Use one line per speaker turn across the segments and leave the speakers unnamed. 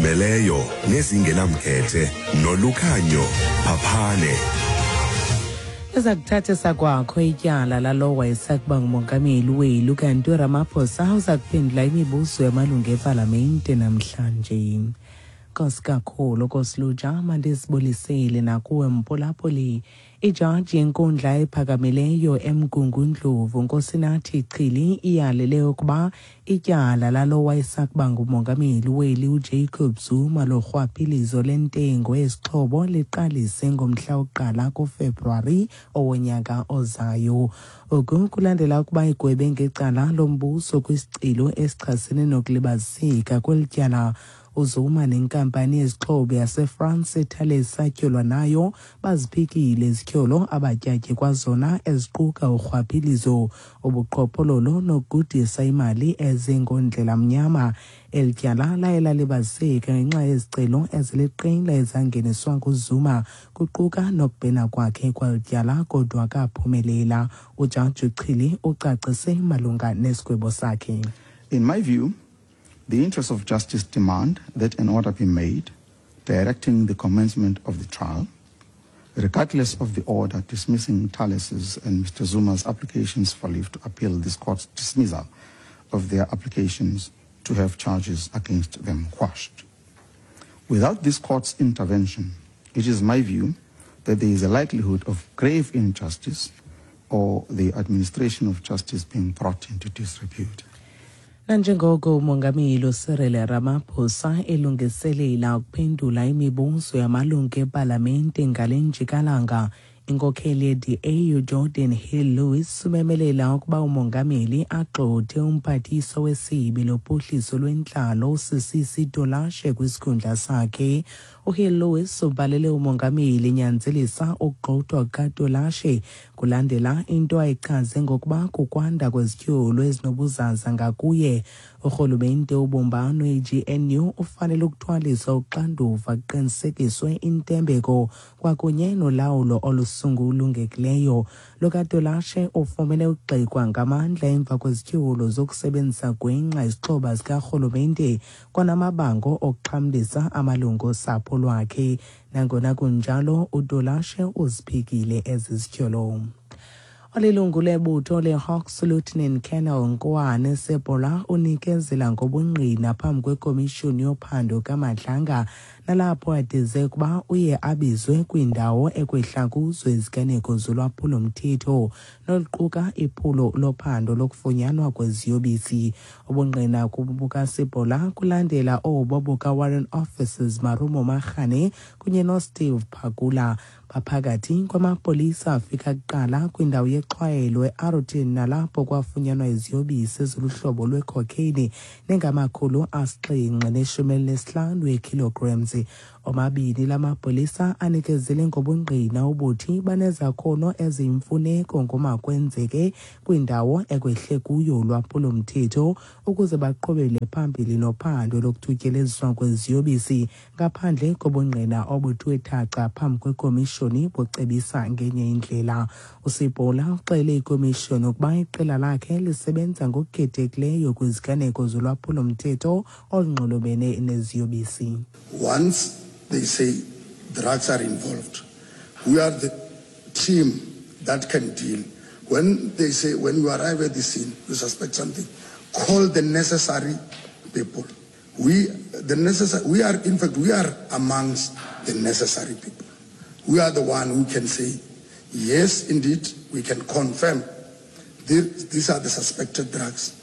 Meleyo nezingenamkhethe nolukhanyo phaphane.
Eza kuthathisa kwakho ityala lalowo wayesakuba ngumongameli weli kanti uRamaphosa uza kuphendula imibuzo yamalungu epalamente namhlanje. Nkosi kakhulu Kosilutsha, mandizibulisele nakuwe mphulaphuli. Ijaji yenkundla ephakamileyo eMgungundlovu Nkosinathi Chili iyalele ukuba ityala lalo wayesakuba ngumongameli weli uJacob Zuma lorhwaphilizo lentengo yezixhobo liqalise ngomhla wokuqala kuFebruwari owonyaka ozayo. Oku kulandela ukuba igwebe ngecala lombuso kwisicelo esichasene nokulibaziseka kweli tyala. UZuma nenkampani yezixhobo yaseFrance iThales satyholwa nayo baziphikile izityholo abatyatyekwa zona eziquka urhwaphilizo, ubuqhophololo nokugudisa imali ezingondlela mnyama. Eli tyala laye lalibaziseka ngenxa yezicelo eziliqela ezangeniswa nguZuma kuquka nokubhena kwakhe kweli tyala kodwa akaphumelela. UJaji uChili ucacise malunga nesigwebo sakhe.
In my view, the interests of justice demand that an order be made directing the commencement of the trial, regardless of the order dismissing Thales's and Mr. Zuma's applications for leave to appeal this court's dismissal of their applications to have charges against them quashed. Without this court's intervention, it is my view that there is a likelihood of grave injustice or the administration of justice being brought into disrepute.
Nanjengoko uMongameli uCyril Ramaphosa elungiselela ukuphendula imibuzo yamalungu epalamente ngale njikalanga, inkokheli ye-DA uGeordin Hill-Lewis umemelela ukuba umongameli agxothe umphathiswa wesebe lophuhliso lwentlalo uSisisi Tolashe kwisikhundla sakhe. UHill-Lewis ubhalele umongameli enyanzelisa ukugxothwa kukaTolashe kulandela into ayichaze ngokuba kukwanda kwezityholo ezinobuzaza ngakuye. Urhulumente wobumbano iGNU ufanele ukuthwaliswa uxanduva kuqinisekiswe intembeko kwakunye nolawulo olusungulungekileyo. Lo kaTolashe ufumene ukugxekwa ngamandla emva kwezityholo zokusebenzisa gwenxa izixhoba zikarhulumente kwanamabango okuxhamlisa amalungu osapho lwakhe. Nangona kunjalo, uTolashe uziphikile ezi zityholo. Olilungu lebutho leHawks Lieutenant Colonel Nkoane Sebola unikezela ngobungqina phambi kwekomishoni yophando kaMadlanga nalapho adize ukuba uye abizwe kwindawo ekwehla kuzo iziganeko zolwaphulo-mthetho noluquka iphulo lophando lokufunyanwa kweziyobisi. Ubungqina bukaSebola kulandela obo bukaWarrant Officers Marumo Magane kunye noSteve Phakula baphakathi kwamapolisa afika kuqala kwindawo yexhwayelo eArroton nalapho kwafunyanwa iziyobisi eziluhlobo lwecocaine nengama-715 eekilograms. Omabini la mapolisa anikezele ngobungqina obuthi banezakhono eziyimfuneko ngomakwenzeke kwindawo ekwehle kuyo ulwaphulo-mthetho ukuze baqhubele phambili nophando lokuthutyeleziswa kweziyobisi ngaphandle kobungqina obuthiwe thaca phambi kwekomishoni bucebisa ngenye indlela. USibola uxele ikomishoni ukuba iqela lakhe lisebenza ngokukhethekileyo kwiziganeko zolwaphulo-mthetho olunxulumene neziyobisi.
Once they say drugs are involved, we are the team that can deal. When they say, when you arrive at the scene, you suspect something, call the necessary people. We, the necessary, we are, in fact, we are amongst the necessary people. We are the one who can say, yes, indeed, we can confirm these are the suspected drugs.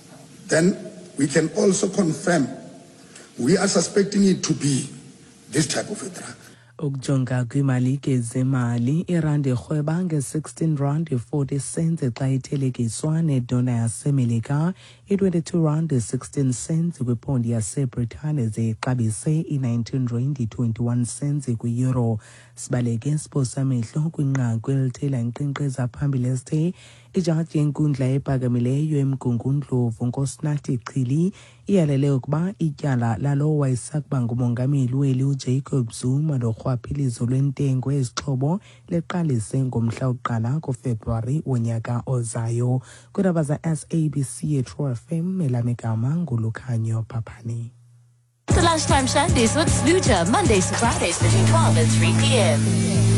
Then we can also confirm we are suspecting it to be this type of a drug.
Ukujonga kwiimalike zemali, irandi irhweba nge-16 rand 40 cents xa ithelekiswa nedola yaseMelika, i-22 rand 16 cents kwiphondi yaseBritane ze ixabise i-19 rand 21 cents kwi-euro. Sibaleke siphosa amehlo kwinqaku elithe lankqenkqeza phambili esithe ijaji yenkundla ephakamileyo eMgungundlovu Nkosinathi Chili iyalele ukuba ityala lalowo wayesakuba ngumongameli weli uJacob Zuma lorhwaphilizo lwentengo yezixhobo liqalise ngomhla wokuqala kuFebruwari wonyaka ozayo. Kwiindaba za-SABC yeTrue FM, elam igama nguLukhanyo Phaphani.
The Lunchtime Shandies with Sluja, Mondays to Fridays between 12 and 3 p.m.